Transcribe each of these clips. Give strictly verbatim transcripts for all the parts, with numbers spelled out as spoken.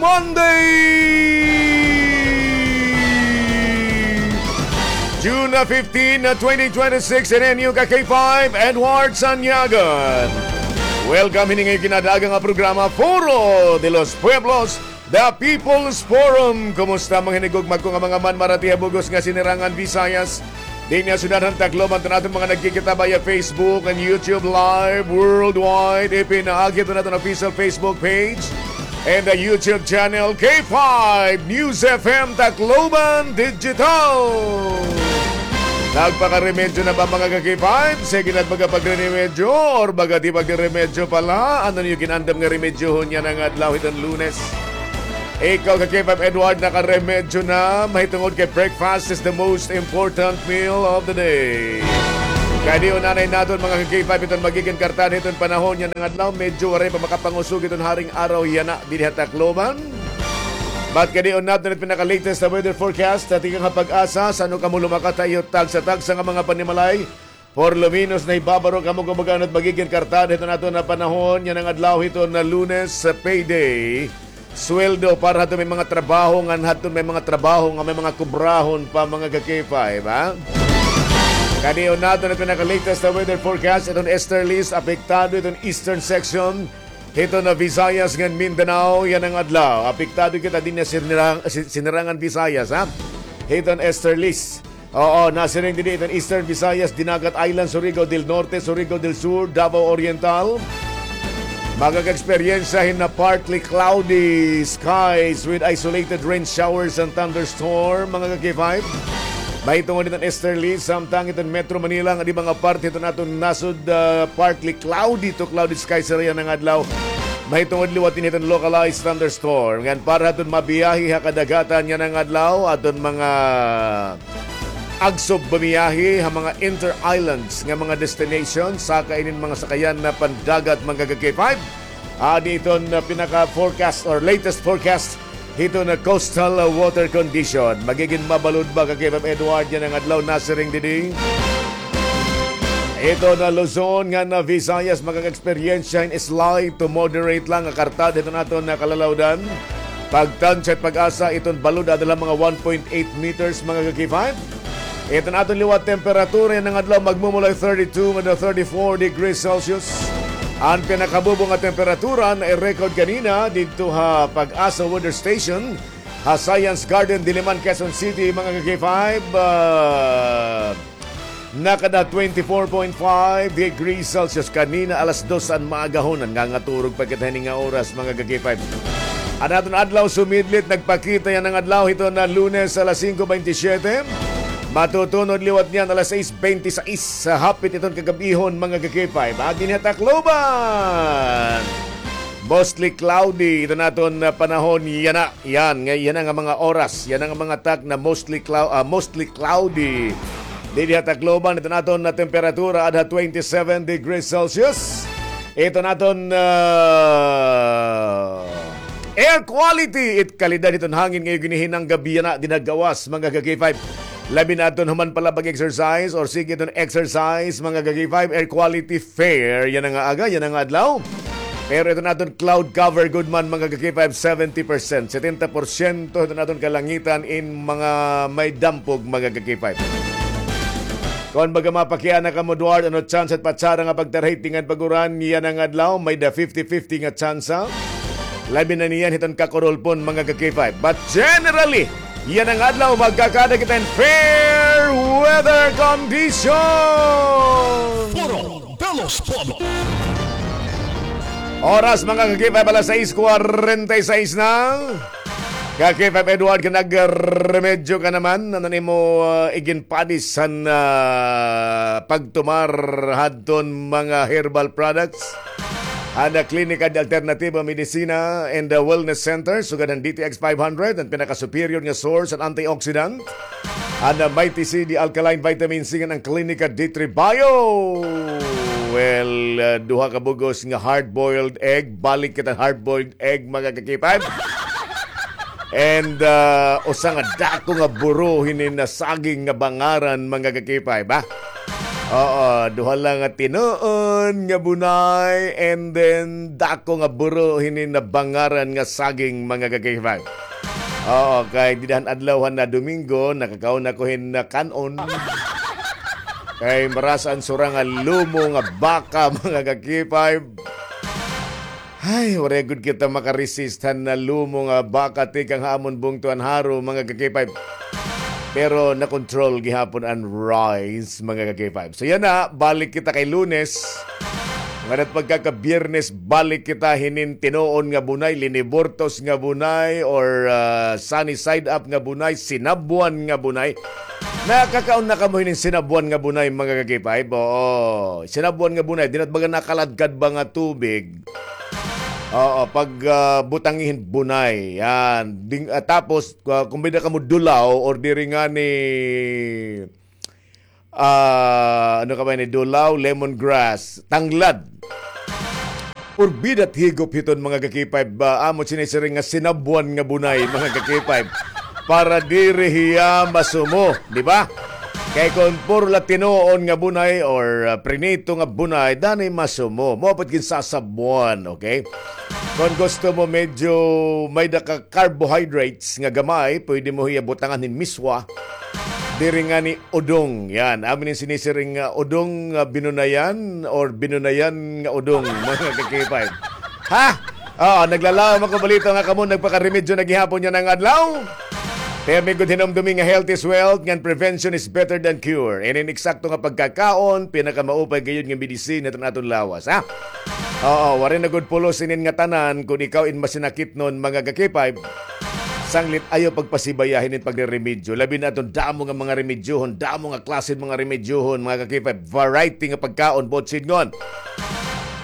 Monday, June fifteen, twenty twenty-six, and N U K K five, Edward Sanyagan. Welcome hini nga ginadaga nga programa, Foro de los Pueblos, The People's Forum. Kumusta, mga hinigugma ko nga mga manmarati ha bug-os nga Sinirangan Visayas? Dinhi ha syudad han Tacloban, iton aton mga nagkikita via Facebook and YouTube Live worldwide. Ipinaagi iton aton official Facebook page and the YouTube channel, K five News F M Tacloban Digital. Nagpakaremedyo na ba, mga ka-K five? Sige na, nagpakapagre-remedyo or baga di pagre-remedyo pala? Ano niyo ginandam nga remedyohon yana nga adlaw hiton Lunes? Ikaw, ka-K five Edward, nakaremedyo na. Mahitungod kay breakfast is the most important meal of the day. Kadi-on anay naton, mga ka-K five, iton magigin kartada hiton panahon yana nga adlaw. Medyo waray pa makapangusog iton haring araw yana dinhi ha Tacloban. But kadi-on naton it pinaka-latest na weather forecast, tikang ha PAGASA. San-o kamo lumakat ha iyo tagsa-tagsa nga mga panimalay? Por lo menos, nahibabaro kamo kon mag-ano it magigin kartada hiton aton nga panahon yana nga adlaw hiton Lunes, payday, sweldo para hadton may mga trabaho ngan hadton may mga trabaho nga may mga kubrahon pa, mga ka-K five, ha? Kadi-on naton it pinaka-latest na weather forecast, iton easterlies, apektado iton eastern section hiton Visayas ngan Mindanao yana nga adlaw. Apektado kita dinhi ha Sinirang-, Si-, Sinirangan Visayas, ha? Hiton easterlies. Oo, nasiring didi iton Eastern Visayas, Dinagat Island, Surigao del Norte, Surigao del Sur, Davao Oriental. Makaka-eksperyensya hin partly cloudy skies with isolated rain showers and thunderstorm, mga ka-K five. Mahitungod hiton easterly, samtang iton Metro Manila ngan iba nga parte hiton aton nasod, ah, partly cloudy to cloudy skies yana nga adlaw. Mahitungod liwat ini hiton localized thunderstorm. Ngan para hadton mabiyahe ha kadagatan yana nga adlaw, aton mga agsob bumiyahe ha mga inter-islands nga mga destination, saka inin mga sakayan na pandagat, mga ka-K five. Adi iton, uh, pinaka-forecast or latest forecast hiton, uh, coastal, uh, water condition. Magigin mabalod ba, ka-K five Edward, yana nga adlaw, nasiring didi? Iton Luzon ngan Visayas, makaka-eksperyensya hin slight to moderate lang nga kartada hiton aton nga kalalawdan. Pagtansya it PAGASA, iton balod ada la mga one point eight meters, mga ka-K five. Iton aton liwat temperatura yana nga adlaw, magmumulay thirty-two ngadto thirty-four degrees Celsius. An pinakabubo nga temperatura na i-record kanina didto ha PAGASA Weather Station ha Science Garden, Diliman, Quezon City, mga ka-K five, ah, nakada twenty-four point five degrees Celsius kanina alas dos an maagahon. Nangangaturog pa kita hini nga oras, mga ka-K five. An aton adlaw sumidlit, nagpakita yana nga adlaw hiton Lunes alas singko bente siyete. Matutunod liwat niyan alas sais bente sais, hapit iton kagab-ihon, mga ka-K five. Adi dinhi ha Tacloban, mostly cloudy iton aton, ah, panahon yana. Yan, nga, yana nga mga oras, yana nga mga tak na mostly clou-, ah, mostly cloudy. Didi ha Tacloban, iton aton nga temperatura ada twenty-seven degrees Celsius. Iton aton, ah, air quality, it kalidad hiton hangin nga iyo ginihinang gab-i yana dinhi ha gawas, mga ka-K five. Labi na iton human pa la pag-exercise or sige iton exercise, mga ka-K five, air quality fair yana nga aga, yana nga adlaw. Pero iton aton cloud cover gud man, mga ka-K five, seventy percent, setenta porsyento iton aton kalangitan in mga may dampog, mga ka-K five. Kon baga mapakiana kamo, Edward, ano tsansa it patsada nga pagtarhit ngan pag-uran yana nga adlaw, may-ada fifty fifty nga tsansa. Labi na niyan hiton kakurulpon, mga ka-K five. But generally, yana nga adlaw, magkakada kita hin fair weather condition. Foro de los Pueblos. Oras, mga ka-K five, alas sais kwarenta y sais na. Ka-K five Edward, ka nagremedyo ka naman. Ano nimo, uh, iginpadis han, uh, pagtumar hadton mga herbal products? An Klinika de Alternativa Medicina and, uh, Wellness Center, sugad han D T X five hundred, an pinaka-superior nga source han antioxidant. An, uh, Mighty C, the alkaline vitamin C, ngan an Klinika D three Bio. Well, uh, duha ka bug-os nga hard-boiled egg. Balik kita hard-boiled egg, mga ka-K five. And, uh, usa nga dako nga buro hini nga saging nga bangaran, mga ka-K five, ha? Oo, duha la nga tinuon nga bunay, and then dako nga buro hini nabangaran nga saging, mga ka-K five. Oo, kay dida han adlaw han na Domingo, nakakaon ako hin, ah, kan-on. Kay marasa an sura nga lumo nga baka, mga ka-K five. Ay, waray gud kita makaresist han na lumo nga baka tikang ha amon bungto han Jaro, mga ka-K five. Pero na-control gihapon an rice, mga ka-K five. So yana, balik kita kay Lunes. Ngada it pagkaka-Biyernes, balik kita hinin tinuon nga bunay, liniburtos nga bunay, or, ah, sunny side up nga bunay, sinabwan nga bunay. Nakakaon na kamo hinin sinabwan nga bunay, mga ka-K five? Oo, sinabwan nga bunay, diri na it baga nakaladkad ba nga tubig. Oo, pag, ah, butangi hin bunay, yan. Ding, ah, tapos, ah, kon may-ada kamo dulaw or diri ngani, ah, ano ka ba ini, dulaw, lemongrass, tanglad. Purbida it higop hiton, mga ka-K five, ba, amo sinisiring nga sinabwan nga bunay, mga ka-K five. Para diri hiya masumo, di ba? Kay kon puro la tinuon nga bunay or, ah, prinito nga bunay, danay masumo. Mao pa it ginsasabwan, okay? Kon gusto mo medyo may-ada ka carbohydrates nga gamay, pwede mo hiya butangan hin miswa. Diri ngani udong. Yan. Amo ini sinisiring nga udong nga binunayan or binunayan nga udong, mga ka-K five. Ha? Oo, naglalawom ako balita nga kamo nagpakaremedyo na gihapon yana nga adlaw. Kay pirme gud hinumdumi nga health is wealth, ngan prevention is better than cure. Inin eksakto nga pagkakaon, pinakamaupay gayud nga medisina hiton aton lawas, ha? Oo, waray na gud pulos inin ngatanan kon ikaw in masinakitnon, mga ka-K five. Sanglit ayaw pagpasibaya hinin pagreremedyo. Labi na aton damo nga mga remedyohon, damo nga klase hin mga remedyohon, mga ka-K five. Variety nga pagkaon, buot sidngon.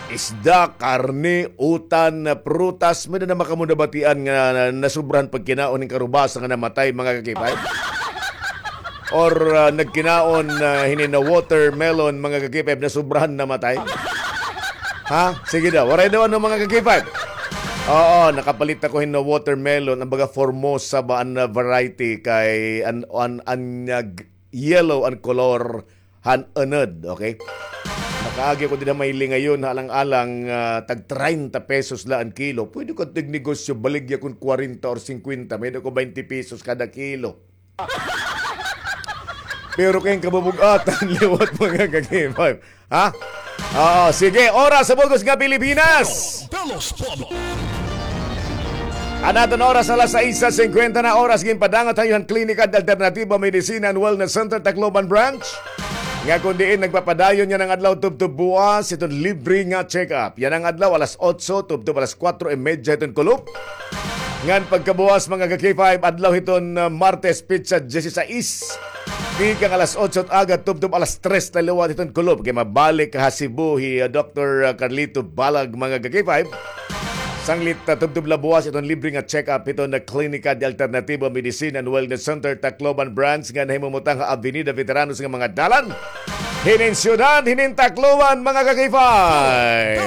Isda, karne, utan, prutas, may-ada na ba kamo nabatian nga nasobrahan pagkinaon hin karubasa nga namatay, mga ka-K five? Or, ah, nagkinaon, ah, hinin watermelon, mga ka-K five, nasobrahan namatay? Ha? Sige daw. Waray daw ano, mga ka-K five? Oo, nakapalit ako hin watermelon, an baga Formosa ba an, ah, variety kay an, an, an, ah, g-, yellow an kolor han unod, okay? Nakaagi ako dida may lingayon, alang-alang, ah, tag treinta pesos la an kilo. Pwede ko tignegosyo, baligya kon kwarenta or singkwenta, may-ada ko baynte pesos kada kilo. Pero kay kabubug-atan liwat, mga ka-K five. Ha? Oo, sige, oras sa bug-os nga Pilipinas. Belos Pueblo. An aton oras alas sais singkwenta na oras, ginpadangat ha iyo han Klinika de Alternatiba Medicina and Wellness Center, Tacloban Branch. Nga kon diin nagpapadayon yana nga adlaw tubtob buwas hiton libre nga check-up. Yana nga adlaw alas otso tubtob alas kuwatro y medya hiton kulop. Ngan pagkabuwas, mga ka-K five, adlaw hiton, ah, Martes, petsa diyesisais. Tikang alas otso hit aga tubtob alas tres na liwat hiton kulop. Kay mabalik ha Cebu hi, ah, Doktor, ah, Carlito Balag, mga ka-K five. Sanglit, ah, tubtob la buwas hiton libre nga check-up hiton Klinika de Alternativo Medicine and Wellness Center, Tacloban Branch, nga nahimumutang ha Avenida Veteranos nga mga dalan. Hinin syudad, hinin Tacloban, mga ka-K five.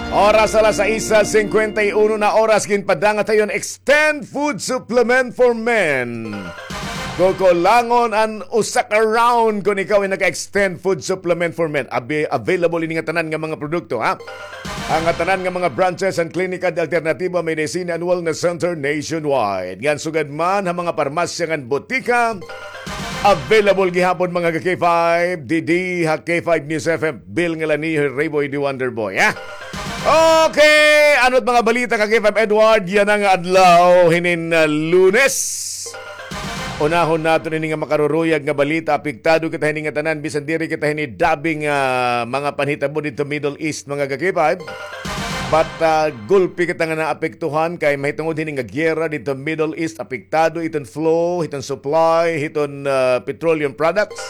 Oras alas sais singkwenta y uno na oras, ginpadangat ha iyo an Extend Food Supplement for Men. Kukulangon an usa ka round kon ikaw ay naka-Extend Food Supplement for Men. Abi-, available ini nga tanan nga mga produkto, ha? An ngatanan nga mga branches han Klinika de Alternatiba Medicina and Wellness Center nationwide. Ngan sugad man ha mga parmasya ngan botika, available gihapon, mga ka-K five, didi ha K five News F M, Bill Ngalaniho, Rayboy the Wonder Boy, ha? Okay, ano it mga balita, ka-K five Edward, yana nga adlaw hinin, ah, Lunes? Unahon naton ini nga makaruruyag nga balita, apektado kita hini nga tanan, bisan diri kita hini dabi nga mga panhitabo didto Middle East, mga ka-K five. But, ah, gulpi kita nga naapektuhan kay mahitungod hini nga giyera didto Middle East, apektado iton flow, hiton supply, hiton, ah, petroleum products.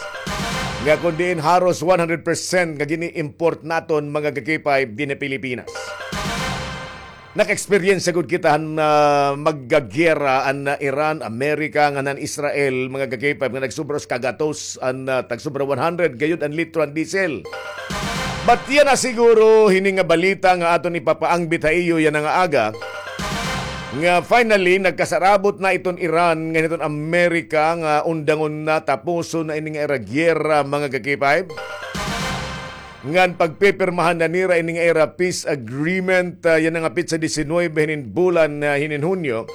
Nga kon diin haros one hundred percent nga gini-import naton, mga ka-K five, dinhi Pilipinas. Naka-experience gud kita han, ah, maggagiyera an, ah, Iran, Amerika, ngan han Israel, mga ka-K five, nga nagsobra usa ka gatos an, ah, tagsobra one hundred gayud an litro an diesel. But yana siguro hini nga balita nga aton ipapaangbit ha iyo yana nga aga. Nga finally, nagkasarabot na iton Iran, ngan hiton Amerika, nga undangon na, tapuson na ini nga ira giyera, mga ka-K five. Ngan pagpipirmahan na nira ini nga ira peace agreement, ah, yana nga petsa diecinuebe hinin bulan, ah, hinin Hunyo,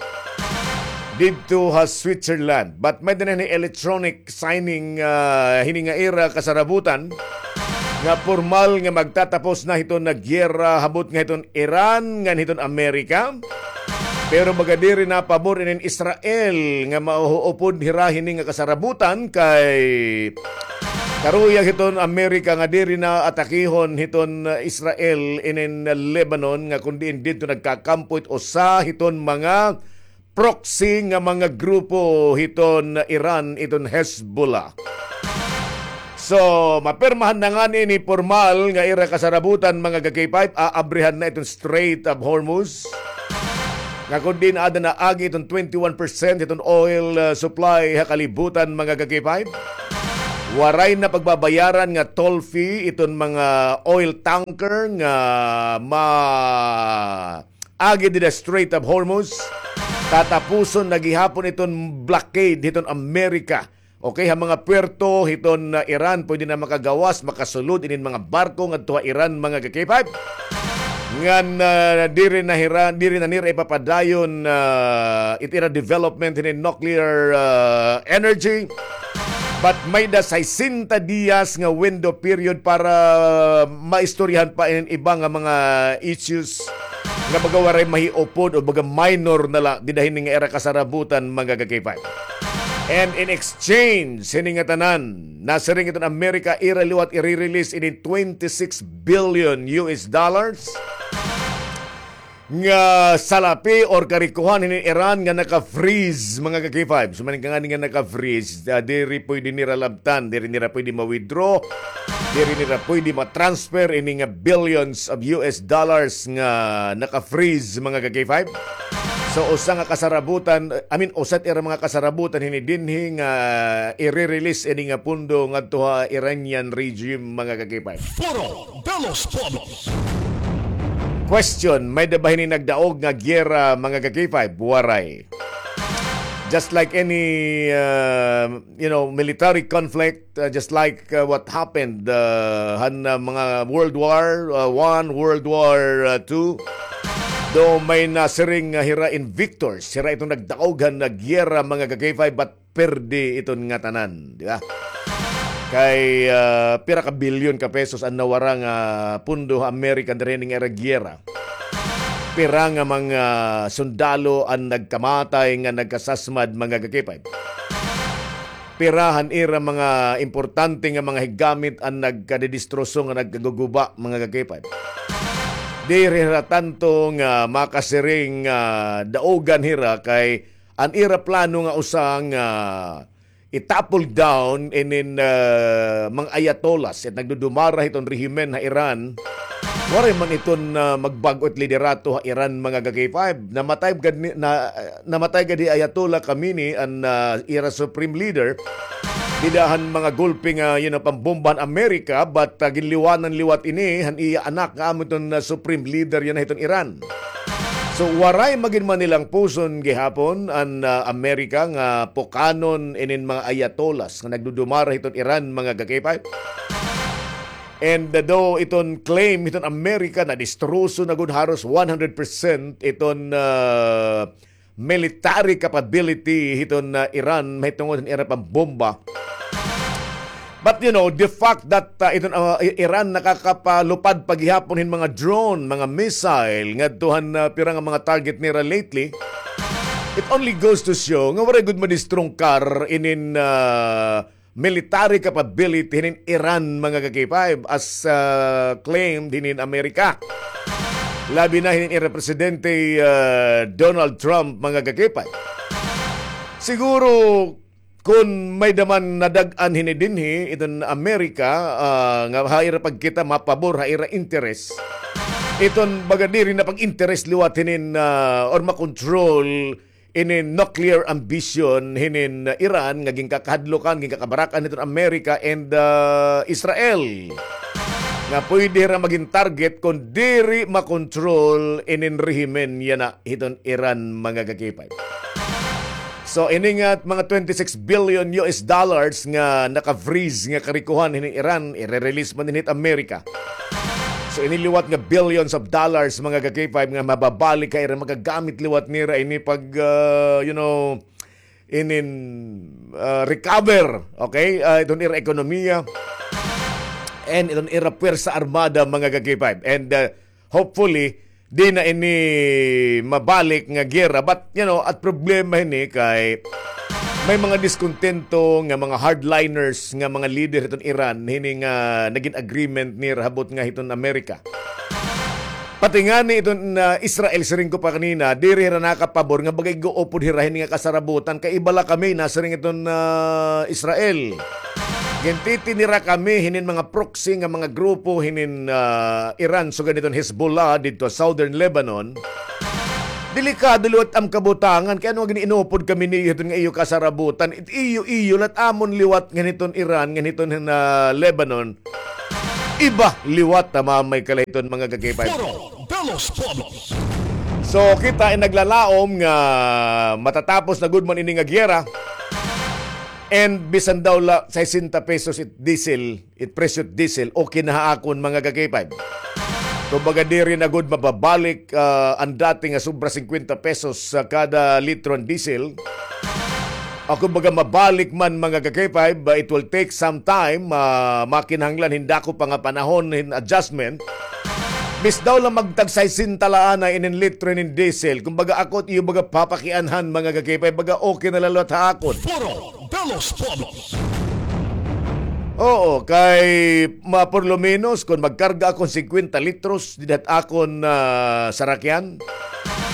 didto ha Switzerland. But may-ada na ini electronic signing, ah, hini nga ira kasarabutan nga pormal nga magtatapos na hiton nga giyera habot nga hiton Iran ngan hiton Amerika. Pero baga diri na pabor inin Israel nga mauupod hira hini nga kasarabutan kay karuyag hiton Amerika nga diri na atakihon hiton Israel inin Lebanon nga kun diin didto nagkakampo it usa hiton mga proxy nga mga grupo hiton Iran, iton Hezbollah. So, mapirmahan na ngani ini pormal nga ira kasarabutan, mga ka-K five, aabrihan na iton Strait of Hormuz. Nga kun diin aada na agi iton twenty-one percent iton oil, uh, supply ha kalibutan, mga ka-K five. Waray na pagbabayaran nga toll fee iton mga oil tanker nga ma agi dida Strait of Hormuz. Tatapuson na gihapon iton blockade hiton Amerika. Okay, ha mga puerto hiton, uh, Iran, pwede na makagawas, makasulod inin mga barko ngadto ha Iran, mga ka-K five. Ngan, uh, diri na hira, diri na nira ipapadayon, uh, it ira development hinin nuclear, uh, energy. But may-ada sesenta diyas nga window period para maistoryahan pa inin iba nga mga issues nga baga waray mahiupod o baga minor na la dida hini nga ira kasarabutan, mga ka-K five. And in exchange hini nga tanan, nasiring iton Amerika ira liwat iri-release ini twenty-six billion U S dollars nga salapi or karikohan hini Iran nga naka-freeze, mga ka-K five. So, maning ka ngani nga naka-freeze, ah, diri pwede nira labtan, diri nira pwede ma-withdraw, diri nira pwede ma-transfer ini nga billions of U S dollars nga naka-freeze, mga ka-K five. So, usa nga kasarabutan, I mean, usa it ira mga kasarabutan hini dinhi nga iri-release ini nga pundo ngadto ha Iranian regime, mga ka-K five. Foro de los Pueblos. Question, may-ada ba hini nagdaog nga giyera, mga ka-K five? Waray. Just like any, uh, you know, military conflict, uh, just like, uh, what happened, uh, han, uh, mga World War, uh, One, World War, uh, Two, do may nasiring nga hira invictors, hira iton nagdaog han nga giyera, mga ka-K five, but perdi iton ngatanan, di ba? Kay, ah, pira ka bilyon ka pesos an nawara nga pundo ha Amerika diri nga ira giyera. Pira nga mga sundalo an nagkamatay nga nagkasasmad, mga ka-K five. Pira han ira mga importante nga mga higgamit an nagkadidistroso nga nagkaguguba, mga ka-K five. Diri hira tanto nga makasiring nga daogan hira kay an ira plano nga usa nga i-topple down inin, ah, mga ayatollahs it nagdudumara hiton rehimen ha Iran. Waray man iton, ah, magbag-o it liderato ha Iran, mga ka-K five. Namatay gad ni, na, namatay gad hi Ayatollah Khamenei, an, ah, ira supreme leader. Dida han mga gulpi nga, you know, pambomba han Amerika, but, ah, ginliwanan liwat ini han iya anak nga amo iton, ah, supreme leader yana hiton Iran. So, waray magin manilang puson gihapon an, ah, Amerika nga pukanon inin mga ayatollahs nga nagdudumara hiton Iran, mga ka-K five. And, ah, though iton claim hiton Amerika na distroso na gud haros one hundred percent iton, ah, military capability hiton, ah, Iran mahitungod han ira pambomba. But, you know, the fact that, ah, iton, ah, I-, Iran nakakapalupad pa gihapon hin mga drone, mga missile ngadto han, ah, pira nga mga target nira lately, it only goes to show nga waray gud madistrungkar inin, ah, military capability hinin Iran, mga ka-K five, as, ah, claimed hinin Amerika. Labi na hinin ira Presidente, ah, Donald Trump, mga ka-K five. Siguro, kun may-ada man nadag-an hini dinhi, iton Amerika, ah, nga ha ira pagkita mapabor ha ira interes. Iton baga diri na pag-interes liwat hinin, ah, or makontrol ini nuclear ambition hinin Iran nga ginkakahadlokan, ginkakabarakan hiton Amerika and, ah, Israel. nga pwede hira magin target kon diri makontrol inin rehimen yana hiton Iran, mga ka-K five. So, ini nga mga twenty-six billion U S dollars nga naka-freeze nga karikohan hinin Iran, ire-release man hit Amerika. So, ini liwat nga billions of dollars, mga ka-K five, nga mababalik ha ira, magagamit liwat nira ini pag, ah, you know, inin, ah, recover, okay? Ah, iton ira ekonomiya and iton ira puwersa armada, mga ka-K five. And, ah, hopefully, di na ini mabalik nga giyera. But, you know, at problema hini kay may mga diskontento nga mga hardliners nga mga leader hiton Iran, hini nga nagin agreement nira habot nga hiton Amerika. Pati ngani iton, ah, Israel, siring ko pa kanina, diri hira nakapabor nga baga ig-uupod hira hini nga kasarabutan kay iba la kami, nasiring iton, ah, Israel. Gintiti nira kami hinin mga proxy nga mga grupo hinin, ah, Iran, sugad hiton Hezbollah didto ha Southern Lebanon. Delikado liwat am kabutangan kay ano nga gin-inupod kami niyo hiton nga iyo kasarabutan, it iyo-iyo la it amon liwat ngan hiton Iran, ngan hiton, ah, Lebanon. Iba liwat ha mamay kalahiton, mga ka-K five. Foro de los Pueblos. So, kita in naglalaom nga matatapos na gud man ini nga giyera. And bisan daw la sesenta pesos it diesel, it presyo it diesel, okay na ha akon, mga ka-K five. Kumbaga, diri na gud mababalik, ah, an dati nga sobra singkwenta pesos sa kada litro an diesel. Ako baga mabalik man, mga ka-K five, ah, it will take some time, ah, makinahanglan hin dako pa nga panahon hin adjustment. Bis daw la magtag sesenta la anay inin litro inin diesel. Kumbaga, ako it iyo baga papakianhan, mga ka-K five, baga okay na la liwat ha akon. Foro de los Pueblos. Oo, kay ma-, por lo menos, kon magkarga ako hin singkwenta litros dida hit akon, ah, sarakyan,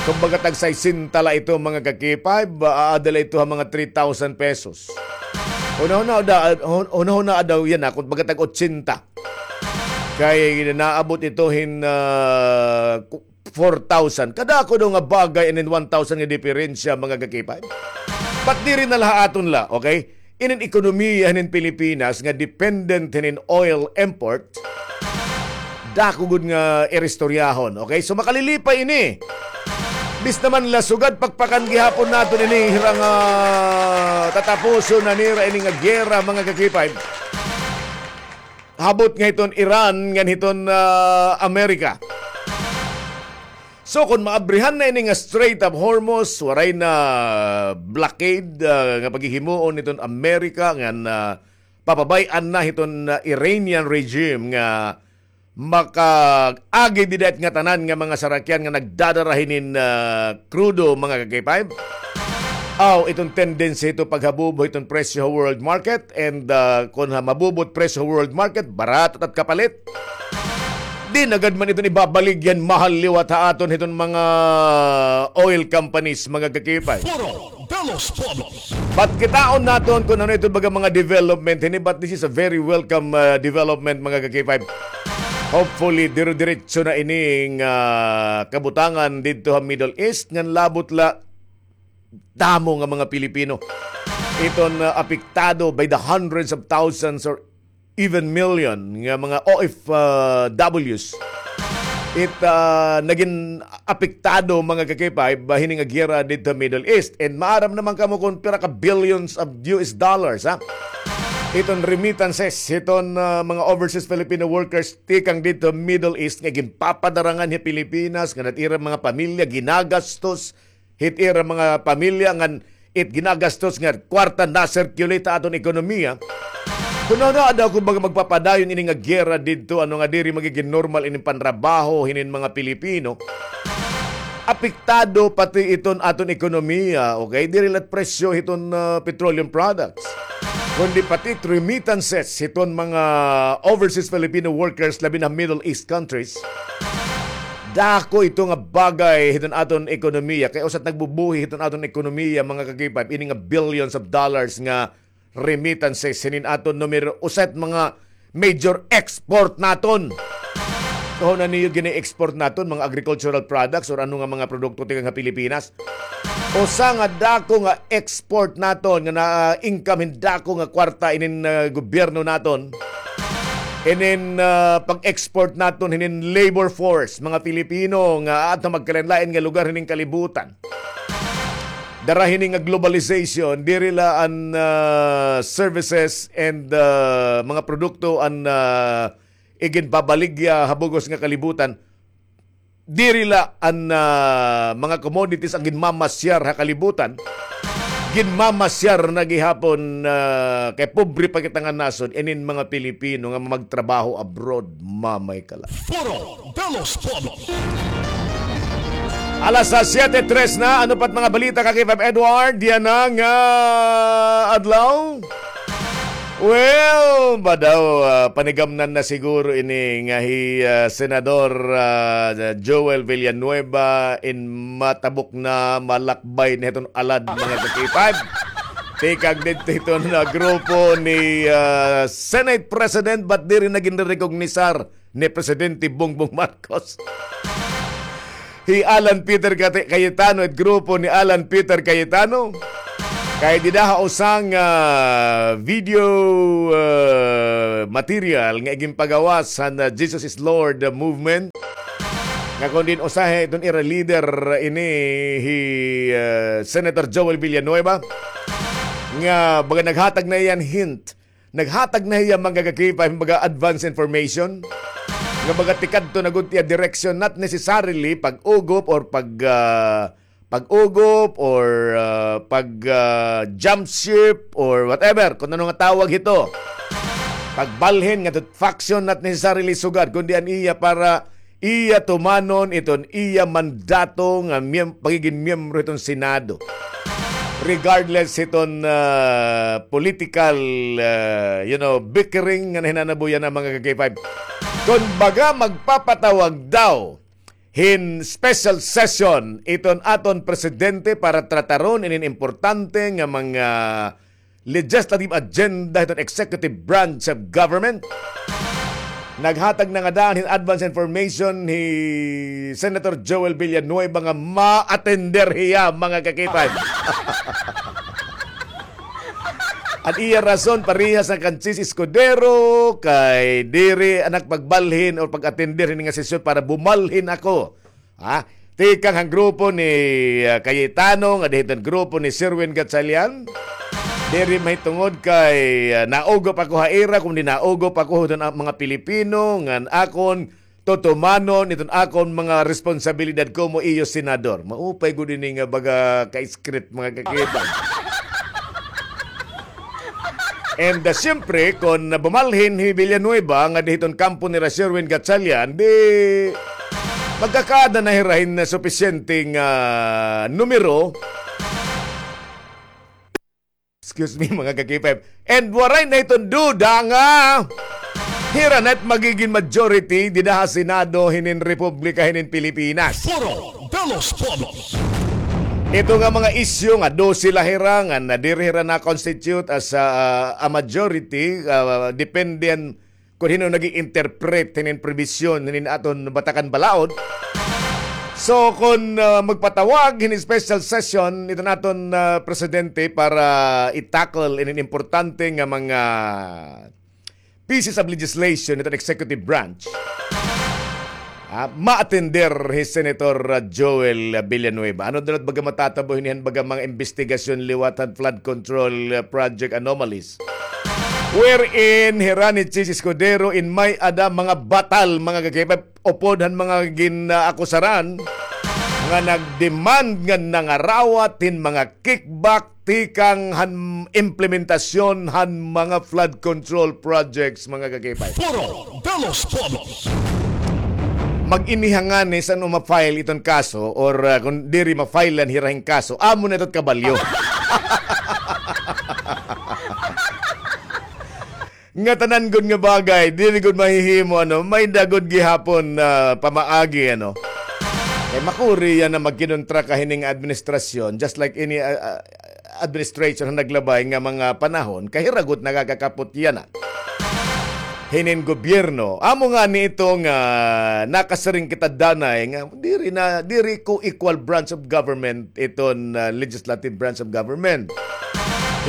kumbaga tag sesenta la ito, mga ka-K five, ah, aada la ito ha mga three thousand pesos. Hunahunaa daw, hun-, hunahunaa daw yana, kumbaga tag otsenta. Kay naabot ito hin, ah, ku-, four thousand. Kadako daw nga bagay inin one thousand nga diperensya, mga ka-K five. But diri na la ha aton la, okay? Inin ekonomiya hinin Pilipinas nga dependent hinin oil import, dako gud nga iristoryahon, okay? So, makalilipay ini. Bis naman la sugad pakpakan gihapon naton ini hira nga tatapuson na nira ini nga giyera, mga ka-K five. Habot nga hiton Iran ngan hiton, ah, Amerika. So, kon maabrihan na ini nga Strait of Hormuz, waray na blockade, ah, nga paghihimuon hiton Amerika ngan, ah, papabay-an na hiton, ah, Iranian regime nga makaagi dida it ngatanan nga mga sarakyan nga nagdadara hinin, ah, krudo, mga ka-K five. Aw, iton tendency hito paghabubo hiton presyo ha world market, and, ah, kon ha mabubo it presyo ha world market, barato it at kapalit. Di na gad man iton ibabaligya hin mahal liwat ha aton hiton mga oil companies, mga ka-K five. Foro de los Pueblos. But kitaon naton kon ano iton baga mga development hini, but this is a very welcome, ah, development, mga ka-K five. Hopefully, dire-diretso na ining, ah, kabutangan didto ha Middle East ngan labot la damo nga mga Pilipino iton, ah, apektado by the hundreds of thousands or even million nga mga O F Ws. It, ah, nagin apektado, mga ka-K five, ba hini nga giyera didto Middle East. And maaram naman kamo kon pira ka billions of U S dollars, ha? Iton remittances, iton, ah, mga overseas Filipino workers tikang didto Middle East nga ginpapadara nganhi ha Pilipinas, ngan it ira mga pamilya ginagastos hit ira mga pamilya ngan it ginagastos nga kwarta na-circulate ha aton ekonomiya. Kon ano daw, kumbaga, magpapadayon ini nga giyera didto, ano nga diri magigin normal ini panrabaho hinin mga Pilipino. Apektado pati iton aton ekonomiya, okay? Diri la it presyo hiton, ah, petroleum products, kundi pati it remittances hiton mga overseas Filipino workers, labi na Middle East countries. Dako ito nga bagay hiton aton ekonomiya. Kay usa it nagbubuhi hiton aton ekonomiya, mga ka-K five, ini nga billions of dollars nga remittances hinin aton numero usa it mga major export naton. Kung ano niyo gini-export naton, mga agricultural products or ano nga mga produkto tikang ha Pilipinas. Usa nga dako nga export naton nga na-income hin dako nga kwarta inin, ah, gobyerno naton. Inin, ah, pag-export naton hinin labor force, mga Filipino nga aadto magkalain-lain nga lugar hining kalibutan. Dara hini nga globalization, diri la an, ah, services and, ah, mga produkto an, ah, iginpabaligya ha bug-os nga kalibutan. Diri la an, ah, mga commodities an ginmamasyar ha kalibutan. Ginmamasyar na gihapon, ah, kay pobre pa kita nga nasod, inin mga Pilipino nga magtrabaho abroad, mamay ka la. Foro de los Pueblos. Alas siyete tres na, ano pa't mga balita, Ka-K five Edward? Diyan na nga adlaw. Well, ba daw, ah, panigamnan na siguro ini nga hi, ah, Senador, ah, Joel Villanueva in matabok na, malakbay na hiton alad, mga ka-K five. Tikang didto hiton, ah, grupo ni, ah, Senate President, but diri na ginrerekognisar ni Presidente Bongbong Marcos. Hi Alan Peter Cate-, Cayetano, it grupo ni Alan Peter Cayetano. Kay dida ha usa nga, ah, video, ah, material nga iginpagawas han, ah, Jesus is Lord, ah, movement. Nga kon diin usahay iton ira leader ini hi, ah, Senator Joel Villanueva. Nga baga naghatag na hiya hin hint Naghatag na hiya, mga ka-K five, mga advance information nga mga tikadto na gud iya direksyon, not necessarily pag-ugop or pag, ah, pag-ugop or, ah, pag, ah, jump ship or whatever, kung ano nga tawag hito. Pagbalhin ngadto faction, not necessarily sugad, kundi an iya para iya tumanon iton iya mandato nga miyem-, pagigin miyembro hiton Senado. Regardless hiton, ah, political, ah, you know, bickering nga nahinanabo yana, mga ka-K five. Kon baga magpapatawag daw hin special session iton aton presidente para trataron inin importante nga mga legislative agenda hiton executive branch of government. Naghatag na ngada hin advance information hi Senator Joel Villanueva nga ma-attender hiya, mga ka-K five. An iya rason, parehas na kan Chiz Escudero, kay diri an ak pagbalhin o pag-attender hini nga sesyon para bumalhin ako Ha? Tikang han grupo ni, ah, Cayetano, nga dida hiton grupo ni Sherwin Gatchalian. Diri mahitungod kay, ah, naugop ako ha ira, kundi naugop ako hiton mga Pilipino, ngan akon tutumanon iton akon mga responsabilidad komo iyo senador. Maupay gud ini nga baga ka-script, mga ka-K five. And, ah, siyempre, kon bumalhin hi Villanueva nga dida hiton kampo nira Sherwin Gatchalian, di magkakaada na hira hin supisyente nga numero. Excuse me, mga ka-K five. And waray na hiton duda nga hira na it magigin majority dida ha Senado hinin Republika hinin Pilipinas. Foro de los Pueblos. Ito nga mga isyu nga dose la hira nga nadiri hira na-constitute as a, a majority, ah, depende kon hin-o nag-i-interpret hinin probisyon hinin aton Batakan Balaod. So, kon, ah, magpatawag hin special session iton aton, ah, presidente para i-tackle inin importante nga mga pieces of legislation iton executive branch, ah, ma-attender hi Senator, ah, Joel, ah, Villanueva. Ano daw it baga matatabo hini han baga mga imbestigasyon liwat han flood control, ah, project anomalies? Wherein hira ni Chiz Escudero in may-ada mga batal, mga ka-K five, upod han mga gin-akusaran nga nag-demand ngan nangarawat hin mga kickback tikang han implementasyon han mga flood control projects, mga ka-K five. Foro de los Pueblos. Mag-ini ha ngani san-o ma-file iton kaso or, ah, kon diri ma-file-an hira hin kaso, amo na ito it kabalyo. Ngatanan gud nga bagay, diri gud mahihimo, ano, may-ada gud gihapon, ah, pamaagi, ano. Kay makuri yana magkinontra ka hini nga administrasyon, just like any, ah, ah, administration han naglabay nga mga panahon, kay hira gud nakakakapot yana hinin gobyerno. Amo ngani ito nga nakasiring kita danay nga diri na, diri ko equal branch of government iton, ah, legislative branch of government,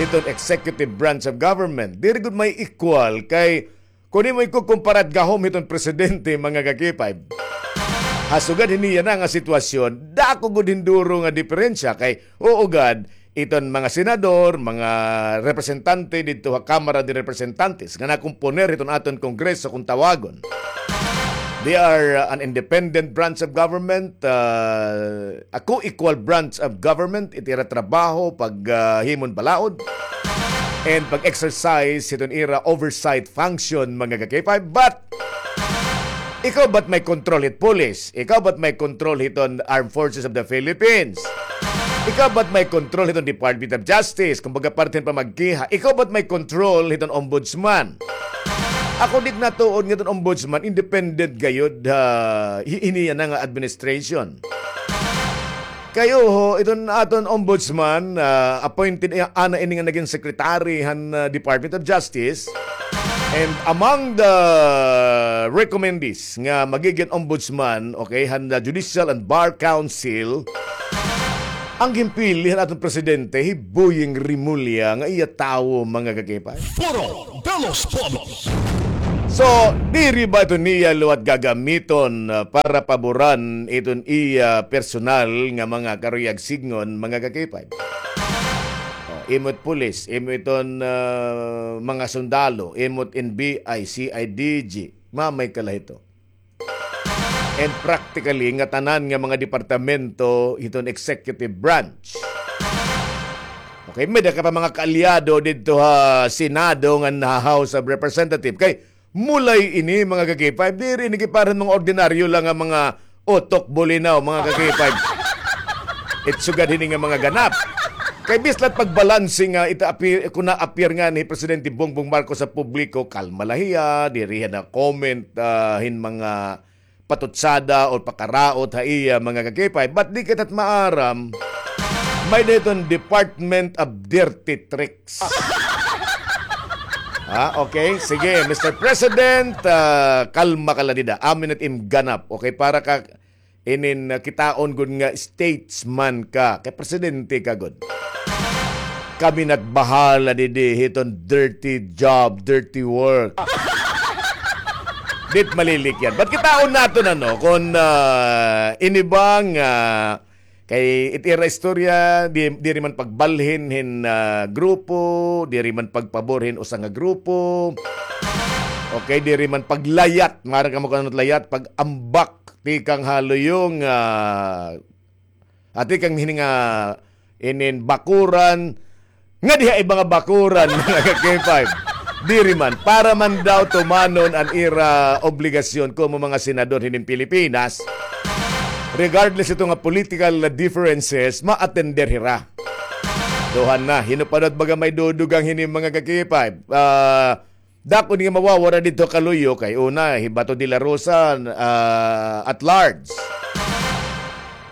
iton executive branch of government. Diri gud may equal kay Kon imo ikukumpara it gahom hiton presidente, mga ka-K five, ha sugad hini yana nga sitwasyon, dako gud hin duro nga diperensya kay, oo gad, iton mga senador, mga representante didto ha Kamara de Representantes nga nakomponer hiton aton Kongreso kon tawagon. They are, uh, an independent branch of government, uh, a co-equal branch of government, it ira trabaho pag, uh, himon balaod and pag-exercise hiton ira oversight function, mga ka-K five. But ikaw ba't may control hit police? Ikaw ba't may control hiton Armed Forces of the Philippines? Ikaw ba't may control hiton Department of Justice? Kumbaga, parte hin pamagkiha. Ikaw ba't may control hiton ombudsman? Ako di ko natuod nga iton ombudsman, independent gayod, ha, hi-, hini yana nga administration. Kay uho, iton aton ombudsman, ah, appointed, eh, ana ini nga nagin secretary han, ah, Department of Justice. And among the recommendees nga magigin ombudsman, okay, han, ah, Judicial and Bar Council, an ginpili han aton presidente, hi Boying Remulla, nga iya tawo, mga ka-K five. Foro de los Pueblos. So, diri ba ito niya liwat gagamiton, ah, para paboran iton iya personal nga mga karuyag sidngon, mga ka-K five? O, imo it pulis, imo iton, ah, mga sundalo, imo it N B I, C I D G, mamay ka la hito. And practically, ngatanan nga mga departamento hiton executive branch. Okay, may-ada ka pa mga kaalyado didto ha Senado ngan ha House of Representative. Kay mulay ini, mga ka-K five, diri ini kay para han mga ordinaryo la nga mga utok, bulinaw, mga ka-K five. It sugad hini nga mga ganap. Kay bisan la it pagbalanse nga ita-, appear, kon na-appear ngani hi Presidente Bongbong Marcos sa publiko, kalma la hiya, diri hiya na-comment, ah, hin mga patutsada o pakaraot ha iya, mga ka-K five. But di kita maaram, may-ada hiton Department of Dirty Tricks. Ha? Okay? Sige, Mister President, ah, kalma ka la dida. Amin it im ganap. Okay? Para ka inin, ah, kitaon gud nga statesman ka. Kay presidente ka gud. Kami na it bahala didi hiton dirty job, dirty work. Di it malilikyan. But kitaon naton, ano, kon, ah, ini ba nga, ah, kay it ira istorya, di, diri man pagbalhin hin, ah, grupo, diri man pagpabor hin usa nga grupo. Okay, diri man paglayat, maaram kamo kon ano it layat, pag-ambak tikang ha luyo nga, ah, tikang hini nga inin bakuran, nga diha iba nga bakuran, mga ka-K five. Diri man, para man daw tumanon an ira obligasyon komo mga senador hinin Pilipinas, regardless ito nga political differences, ma-attender hira. Duha na, hin-o pa daw it baga may dudugang hini, mga ka-K five? Ah, Dako ini nga mawawara didto ha kaluyo kay una, hi Bato de la Rosa, ah, at large.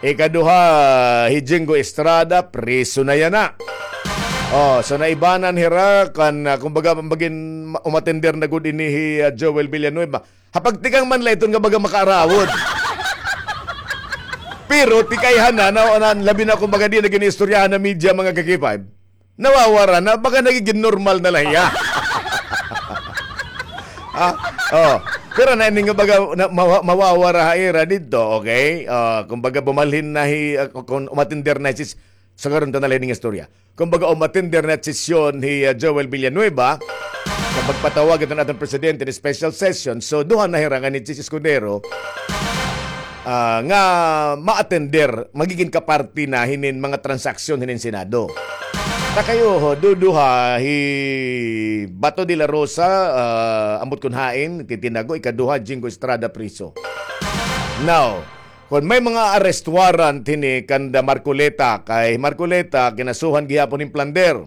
Ikaduha, hi Jingo Estrada, priso na yana. Oh, so naibanan hira kan, ah, kumbaga, magin, umatender na gud ini hi, ah, Joel Villanueva. Ha pagtikang man la iton nga baga makaarawod. Pero tikayhan na, na, na, labi na kumbaga di na gin-iistoryahan ha media, mga ka-K five. Nawawara na, baga nagigin normal na la hiya. Ah, oh. Pero na ini nga baga na, mawa-, mawawara ha ira didto, okay? Ah, kumbaga bumalhin na hi, ah, kon umatender na hi Chis, sagaron ta na la ini nga istorya. Kumbaga umatender na sesyon hi, ah, Joel Villanueva, nga magpatawag iton aton presidente hin special session. So, duha na hira nga ni Chis Escudero, ah, nga ma-attender, magigin kaparti na hinin mga transaksyon hinin Senado. Ta kay uho, duduha hi Bato de la Rosa, ah, ambot kon hain, titinago, ikaduha, Jingo Estrada, priso. Now, kon may mga arrest warrant hini kanda Marcoleta, kay Marcoleta, kinasuhan gihapon hin plunder.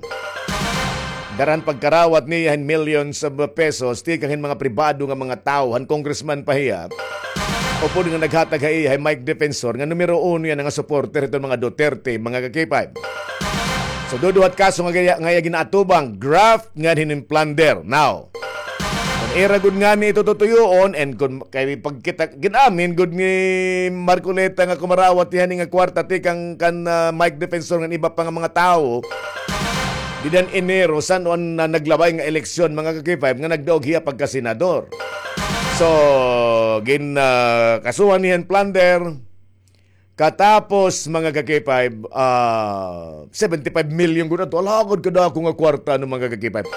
Dara han pagkarawat niya hin millions of pesos, tikang hin mga pribado nga mga tawo, han congressman pa hiya. Upod nga naghatag ha iya hi Mike Defensor nga numero uno yana nga supporter hiton mga Duterte, mga ka-K five. So, duduha it kaso nga iya, nga iya ginaatubang, graft ngan hin plunder. Now, kon ira gud ngani ito tutuyoon, and kon kay pagkita, gin-amin gud ni Marcoleta nga kumarawat hiya hini nga kwarta tikang kan, ah, Mike Defensor ngan iba pa nga mga tawo, Dida han Enero, san-o an, ah, naglabay nga eleksyon, mga ka-K five, nga nagdaog hiya pagkasenador. So, gin, ah, kasuhan hiya hin plunder. Katapos, mga ka-K five, ah, seventy-five million gud adto. Alagad kadako nga kwarta, no, mga ka-K five.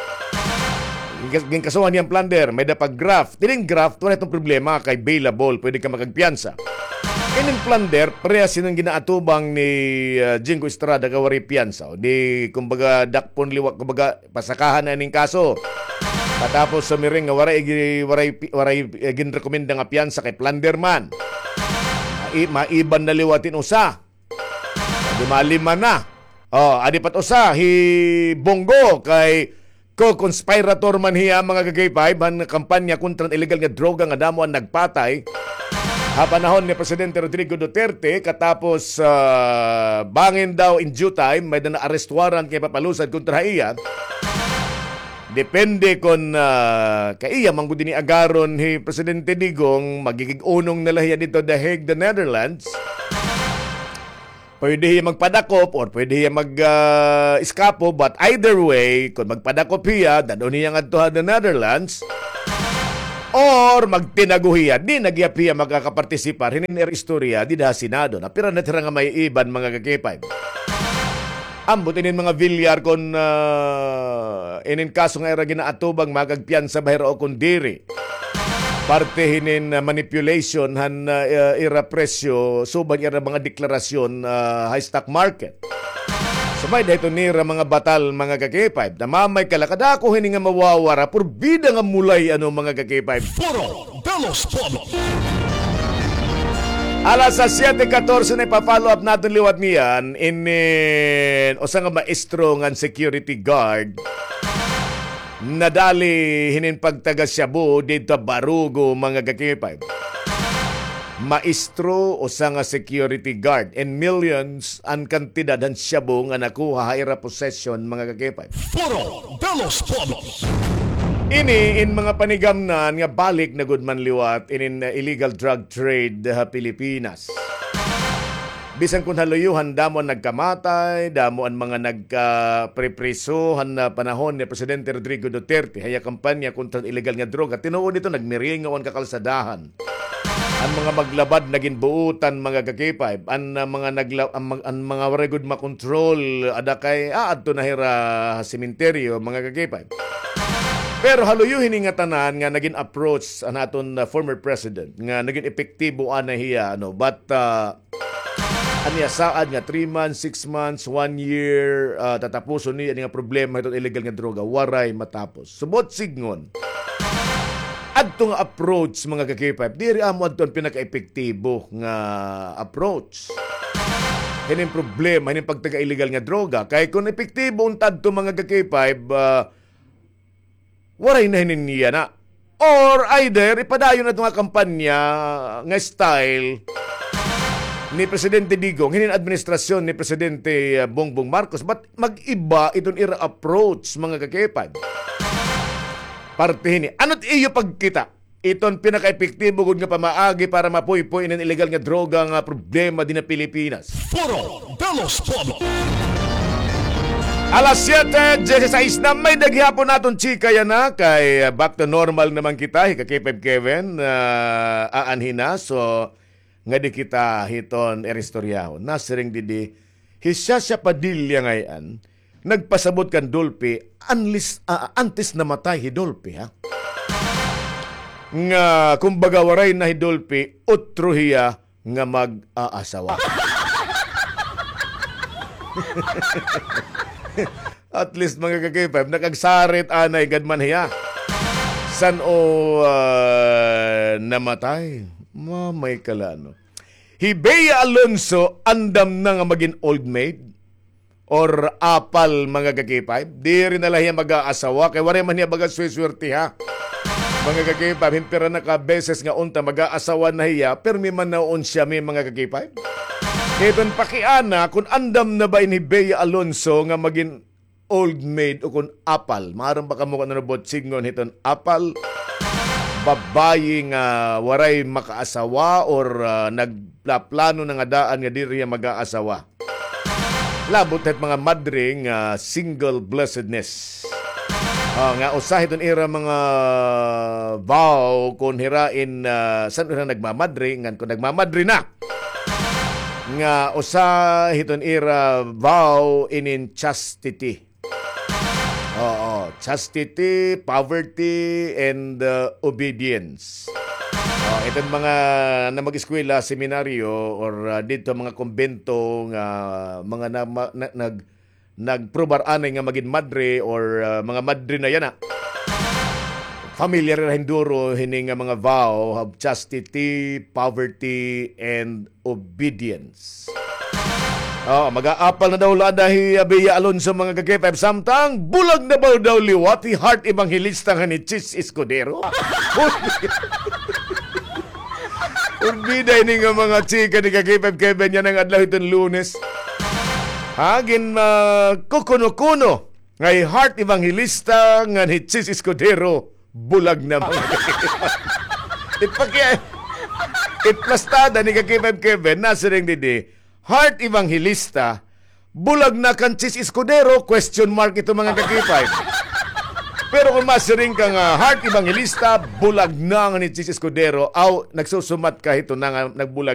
Gin-, ginkasuhan hiya hin plunder, may-ada pa graft. Ining graft, waray iton problema, kay bailable, pwede ka makagpiyansa. Ining plunder, parehas hiton ginaatubang ni, ah, Jinggo Estrada kay waray piyansa. Di, kumbaga, dakpon liwat, kumbaga, pasakahan na ining kaso. Katapos sumiring nga waray gi-, waray pi-, waray, eh, ginrekomenda nga piyansa kay plunder man. Mai-, maiban na liwat hin usa. Di malima na. Oh, adi pa it usa, hi Bong Go kay co-conspirator man hiya, mga ka-K five, han kampanya kontra han illegal nga droga nga damo an nagpatay ha panahon ni Presidente Rodrigo Duterte, katapos, ah, bangin daw in due time, may-ada na arrest warrant nga ipapalusad kontra ha iya. Depende kon, ah, kay iya man gud ini agaron hi Presidente Digong, magigig-unong na la hiya didto The Hague, the Netherlands. Pwede hiya magpadakop or pwede hiya mag, ah, eskapo, but either way, kon magpadakop hiya, dad-on hiya ngadto ha the Netherlands, or magtinago hiya, di na gihap hiya makakapartisipar hinin ira istorya dida ha Senado. Napira na it ira nga maiiban, mga ka-K five. Ambot inin mga Villar kon, ah, inin kaso nga ira ginaatubang, makagpiyansa ba hira o kon diri. Parte hinin, ah, manipulation han, ah, ira presyo, suba han ira mga deklarasyon, ah, ha stock market. So, may-ada hiton nira mga batal, mga ka-K five. Namamay ka la, kadako hini nga mawawara, purbida nga mulay, ano, mga ka-K five. Foro de los Pueblos. Alas sa siyete katorse na, ipa-follow up naton liwat niyan, inin usa nga maestro ngan security guard. Nadali hinin pagtaga shabu didto ha Barugo, mga ka-K five. Maestro, usa nga security guard, and millions an kantidad han shabu nga nakuha ha ira possession, mga ka-K five. Foro de los Pueblos. Ini in mga panigamnan nga balik na gud man liwat inin, uh, illegal drug trade ha Pilipinas. Bisan kon ha luyo han damo an nagkamatay, damo an mga nagkapripriso han, ah, panahon ni Presidente Rodrigo Duterte ha iya kampanya kontra han illegal nga droga. Tinuod ito, nagmiringaw an kakalsadahan. An mga maglabad nagin buutan, mga ka-K five. An, ah, mga nagla-, an, mag-, an mga waray gud makontrol, ada kay aadto na hira ha sementeryo, mga ka-K five. Pero ha luyo hini nga tanan nga nagin approach an aton, ah, former president nga nagin epektibo anay hiya, ano, but, ah, an iya saad nga three months, six months, one year, ah, tatapuson niya ini nga problema hiton illegal nga droga, waray matapos. Subot sidngon, adto nga approach, mga ka-K five, diri amo adto an pinakaepektibo nga approach hinin problema, hinin pagtaga illegal nga droga. Kay kon epektibo unta adto, mga ka-K five, ah, waray na hinin yana. Or either, ipadayon na ito nga kampanya nga style ni Presidente Digong, hinin administrasyon ni Presidente, uh, Bongbong Marcos, but mag-iba iton ira approach, mga ka-K five. Parte hini. Ano't iyo pagkita? Iton pinakaepektibo gud nga pamaagi para mapuypoy inin illegal nga droga nga problema dinhi ha Pilipinas. Foro de los Pueblos. Alas siyete dieciséis na, may-ada gihapon naton chika yana kay, uh, back to normal naman kita, hi ka-K five Kevin, uh, aanhi na. So, ngadi kita hiton ira istoryahon. Nasiring didi hi Shasha Padilla ngay-an, nagpasabot kan Dolphy, unless, ah, antes namatay hi Dolphy, ha? Nga, kumbaga, waray na hi Dolphy, utro hiya nga mag-aasawa. At least, mga ka-K five, nakagsarit anay gad man hiya. San-o, ah, namatay? Mamay ka la, no? Hi Bea Alonzo, andam na nga magin old maid or apal, mga ka-K five. Diri na la hiya mag-aasawa, kay waray man hiya baga sweswerte, ha. Mga ka-K five, hin pira na ka beses nga unta mag-aasawa na hiya, pirmi man na unsiya, mga ka-K five. Iton pakiana, kon andam na ba ini hi Bea Alonzo nga magin old maid o kon apal. Maaram ba kamo kon ano bot sidngon hiton apal? Babayi nga waray makaasawa or, ah, nagplaplano na nga daan nga diri hiya mag-aasawa. Labot hit mga madre nga single blessedness. Ah, nga usa hiton ira mga vow kon hira in, ah, san-o na nagmamadre, ngan kon nagmamadre na. Nga usa hiton ira vow inin chastity. Oo, chastity, poverty, and, uh, obedience. Oh, iton mga na mag-eskwela, seminaryo, or, uh, didto mga kumbento nga mga na, ma-, na, nag-, nagprobar anay nga magin madre or, uh, mga madre na yana. Familiar na hinduro hini nga mga vow of chastity, poverty, and obedience. Oh, mag-aapal na daw la ada hi Abia Alonso, mga ka-K five. Samtang, bulag na ba daw liwat hi Heart Evangelista ngan hi Chiz Escudero? Urbida ini nga mga chika ni ka-K five Kevin yana nga adlaw hiton Lunes. Ha, gin, ah, kukuno-kuno nga hi Heart Evangelista ngan hi Chiz Escudero bulag na, mga ka-K five. Ipaki-, iplastada ni ka-K five Kevin, nasiring didi, Heart Evangelista, bulag na kan Chiz Escudero, question mark ito, mga ka-K five. Pero kon masiring ka nga Heart Evangelista, bulag na nga ni Chiz Escudero, aw, nagsusumat ka hito na nga nagbulag